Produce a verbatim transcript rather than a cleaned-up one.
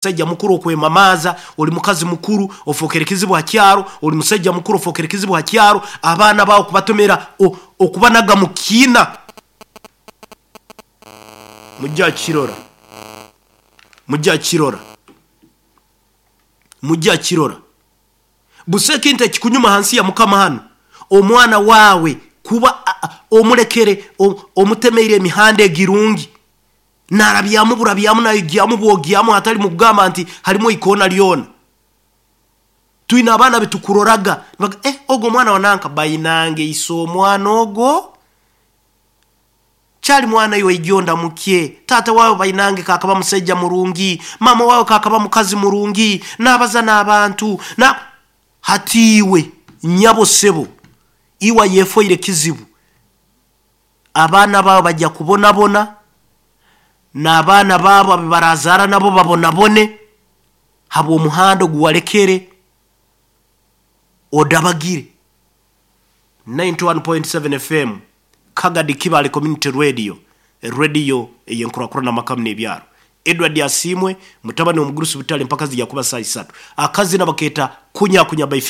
Musajja mukuru okwemamaaza, oli mukazi mukuru ofookere kizibu ha kyaro, oli musajja mukuru ofookere kizibu ha kyaro, abaana baawe okubatomera, okubanaga mu kiina. Mujja kirora, mujja kirora, mujja kirora. Busa ekintu ekikunyuma hansi ya Mukama hanu, omwana waawe kuba omulekere, omutemeire emihanda egirungi, narabyamu burabyamu naigyamu bwogyamu, hatali mukugamba nti halimu ikoona lyona. Twine abaana betukuroraga, eh, ogo omwana wa nanka bainange ise omwana ogo kyali mwana iwe ijonda mukye, taata wawe bainange kakaba musaija murungi, mama wawe kakaba mukazi murungi, nabaza n'abantu na hati iwe nyabo sebo iwe yefoire kizibu. Abaana bawe bajja kubonabona, n'abaana baabo ababarazara nabo babonabone habw'omuhanda oguwalekere odabagire. ninety one point seven F M Kagadi Kibale Community Radio, radio eyenkurakurana makamu n'ebyaro. Edward Asimwe mutabani omugurusi butale mpaka zijja kuba saa isatu. Akazina baketa kunya kunya by